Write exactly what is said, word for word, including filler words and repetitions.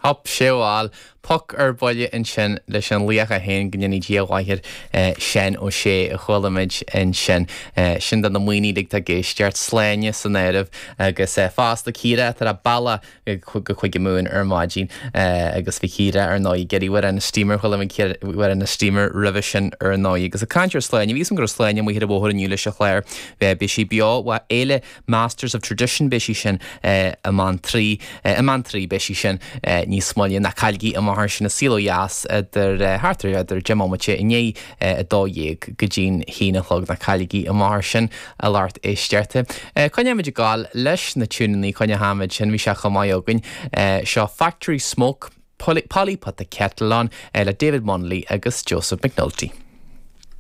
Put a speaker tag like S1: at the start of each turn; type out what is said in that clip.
S1: Hop séáil poc ar buile ansin leis an laoch é féin go ndéana Dia a mhaith air Seán Ó Sé a chuala muid ansin. Sin do na maoine uilig atá ag éisteacht Sláine san áireamh agus fosta Ciara atá ar a bealach go Cúige Mumhan ar maidin agus bhí Ciara ar ndóigh ag iarraidh Amhrán na Steamer chuala muid Amhrán na Steamer roimhe sin ar ndóigh agus ag caint ar Sláine bhí go raibh Sláine amuigh ar an bhóthar inniu leis an chlár beidh sí beo ó Fhéile Masters of Tradition beidh sí sin i mBeanntraí i mBeanntraí beidh sí sin níos moille ná cailligí amach air sin an Saol Ó Dheas idir thart ar idir deich mbomaite i ndiaidh a dó dhéag go dtí'n haon a chlog ná cailligí amach air sin a lucht éisteachta. Coinneoimid ag gabháil leis na tiúineanna coinneoimid sin bhí sé chomh maith againn seo Factory Smoke Polly, Polly put the kettle on le David Munnelly agus Joseph McNulty.